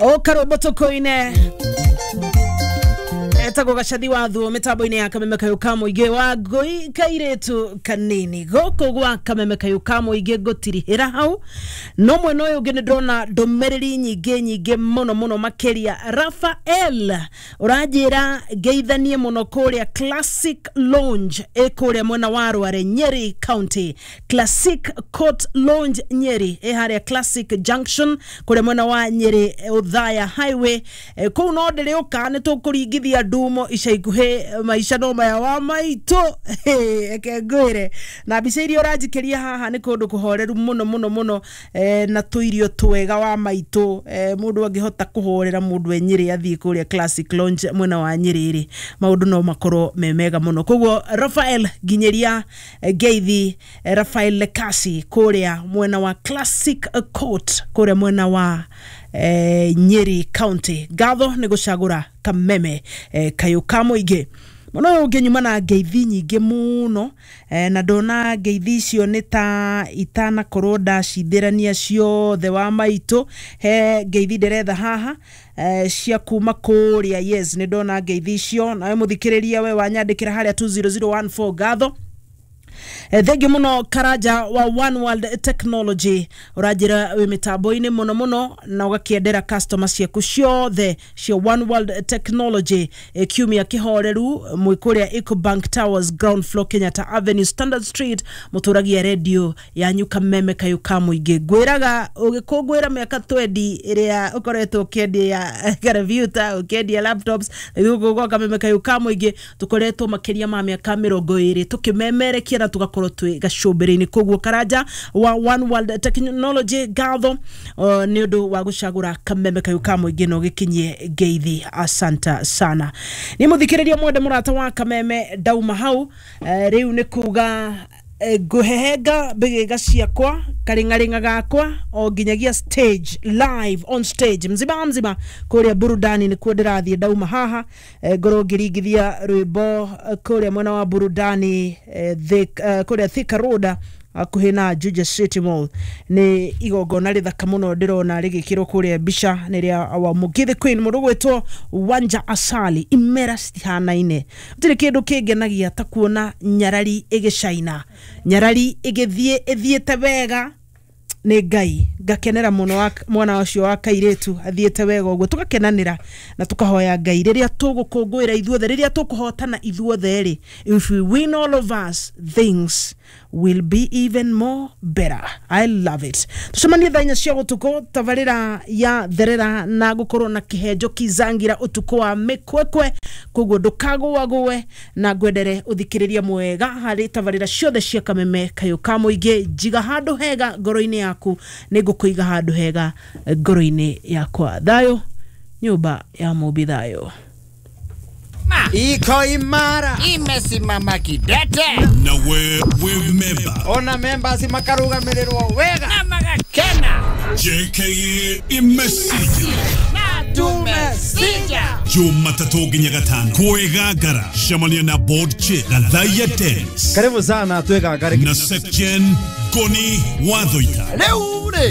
Okarwĩmbo tũkũine etagwo Gacathi wa Thuo mĩtambo-inĩ ya Kameme Kayũ ka Mũingĩ wa Ngũi kairĩtu kanini gũkũ gwa Kameme Kayũ ka Mũingĩ. Ngũtirihĩra hau no mwena ũyũ ũngĩ nĩ ndĩrona ndũmĩrĩri nyingĩ nyingĩ mũno mũno makĩria. Rafael ũranjĩra ngeithanie mũno kũrĩa Classic Lounge ĩ kũrĩa mwena wa Rware, Nyeri County. Classic Court Lounge Nyeri ĩ harĩa Classic Junction kũrĩa mwena wa Nyeri, Othaya Highway. Kũu no ndĩrĩũka nĩ tũkũringithia ndumo ica ikuhĩ. Maica no maya wa maitũ. Eke ngwĩre na mbica iria ũranjikĩria haha nĩ kũndũ kũhoreru mũno mũno mũno, na tũirio twega wa maitũ. Mũndũ angĩhota kũhorera mũndũ e Nyĩrĩ athiĩ kũrĩa Classic Lounge mwena wa Nyĩrĩ rĩ, maũndũ no makorwo me mega mũno. Koguo Rafael, nginyĩria ngeithi. Rafael Lekasi kũrĩa mwena wa Classic Court kũrĩa mwena wa Nyeri County, ngatho nĩ gũcagũra Kameme Kayũ ka Mũingĩ mũno. Ũyũ ũngĩ nyuma na ngeithi nyingĩ mũno, na ndona ngeithi icio nĩ ta itanakorwo ndacithĩrania ciothe wa maitũ. He ngeithi ndĩretha haha cia kuma kũrĩa. Yes, nĩ ndona ngeithi icio. Nawe mũthikĩrĩria we wanyandĩkĩra harĩa 20014, ngatho. Thengiũ mũno. Karanja wa One World Technology ũranjĩra wĩ mĩtambo-inĩ mũno mũno na ũgakĩendera customer ciaku ciothe cia One World Technology kiumia kĩhoreru. Mwĩ kũrĩa Ecobank Towers, ground floor, Kenyatta Avenue, Standard Street, mũtũragia redio yanyu Kameme Kayũ ka Mũingĩ. Ngwĩraga ũgĩkũngũĩra mĩaka 20 ĩrĩa ũkoretwo ũkĩendia kompiuta, ũkĩendia laptops gũkũ gwa Kameme Kayũ ka Mũingĩ. Tũkoretwo makĩria ma mĩaka 20 tũkĩmemerekia na tũgakorwo twĩ gacũmbĩrĩ-inĩ. Koguo Karanja wa One World Technology, ngatho nĩ ũndũ wa gũcagũra Kameme Kayũ ka Mũingĩ na ũgĩkinyie ngeithi. Asanta sana. Nĩ mũthikĩrĩria mwende mũrata wa Kameme, ndauma hau, rĩu nĩ kuga ngũhehenga mbĩgĩga ciakwa karĩng'arĩng'a gakwa o nginyagia stage, live on stage mzima mzima kũrĩa burudani nĩkuo ndĩrathiĩ. Ndauma haha, ngorwo ngĩringithia rwĩmbo kũrĩa mwena wa burudani, kũrĩa Thika Road hakuhĩ na Juja City Mall. Nĩ igongona rĩthaka mũno ndĩrona rĩgĩkĩrwo kũrĩa mbica nĩ rĩa wa Mũgithi Queen, mũndũ gwĩtwo Wanja Asali. Imera citihanaine, gũtirĩ kĩndũ kĩngenagia ta kuona nyarari ĩgĩcaina, nyarari ĩgĩthiĩ ĩthiĩte wega. Nĩ Ngai ngakenera mũno mwana ũcio wa kairĩtu athiĩte wega ũguo, tũgakenanĩra na tũkahoya Ngai rĩrĩa tũgũkũngũĩra ithuothe, rĩrĩa tũkũhotana ithuothe rĩ, if we win, all of us, things will be even more better. I love it. Tucemanie thaa 4 cia ũtukũ, tabarĩra ya Therera na gũkorwo na kĩhenjo kizangira ũtukũ wa mĩkwekwe. Koguo ndũkagũagũe na ngwendere ũthikĩrĩria mwega harĩ tabarĩra ciothe cia Kameme Kayũ ka Mũingĩ. Njiga handũ hega ngoro-inĩ yaku, nĩ ngũkũiga handũ hega ngoro-inĩ yakwa. Thayũ nyũmba ya Mũmbi, thayũ. Iko imara. Imesimama kidete. Na we we member. Ona members makarugamirĩrwo wega. Na magakena. JKA imesija. Na tumesija. Jumatatu nginya Gatano kwĩgangara, cemania na board chair Gathaiya Dennis Karibu sana twĩgangare. Na Secgen Ngoni Wathoita. Rĩu rĩ.